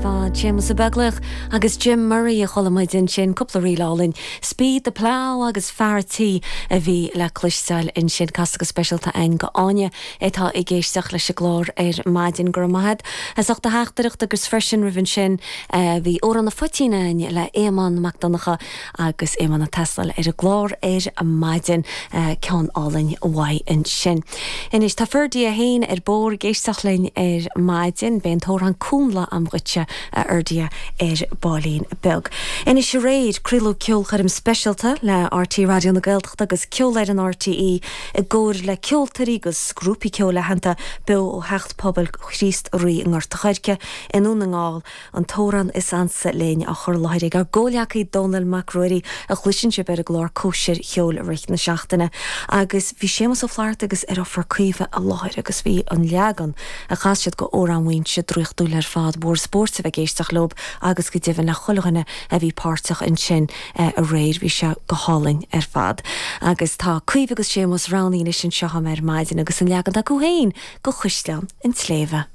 fad. Séamus Ó Beaglaoich agus Jim Murray a chuala muid ansin, cúpla ríl álainn. Speed the Plough agus Fear a' Tí a bhí le cloisteáil ansin. Casta go speisialta a'inn go Áine atá ag éisteacht leis an gclár ar maidin. Go raibh maith a'd as ucht do theachtaireacht agus freisin roimh ansin bhí Amhrán na Phoitín a'inn le Éamonn Mac Donncha Agus Éamonn ag taisteal ar an gclár ar maidin, ceann álainn uaidh ansin. Anois, tá Ferdia féin ar bord ag éisteacht linn ar maidin. Beidh an t-amhrán Cúnla a'm dhuitse, a Fherdia, ar baillín beag. Anois aréir, craoladh ceolchoirm speisialta le RTÉ Raidió na Gaeltachta agus Ceolfhoireann RTÉ i gcomhar le ceoltóirí agus grúpaí ceoil aitheanta beo ó Theach Pobail Chríost Rí i nGort a' Choirce i nDún na nGall An t-amhrán is ansa linn á chur i láthair ag ár gcomhleacaí Dónall Mac Ruairí a chloiseann sibh ar an gclár Cóisir Cheoil i rith na seachtaine. Agus bhí Séamus Ó Flatharta agus ar Caoimhe i láthair agus bhí an leagan a chas siad go Amhrán Mhaínse draíochtúil ar fad. Mhór spóirt a bheith ag éisteacht leob agus go deimhin le chuile dhuine a bhí páirteach ansin aréir. Bhí sé go hálainn ar fad. Agus tá Caoimhe agus Séamus roghnaithe anois anseo agam ar maidin agus an leagan acu féin go Caisleán an tSléibhe.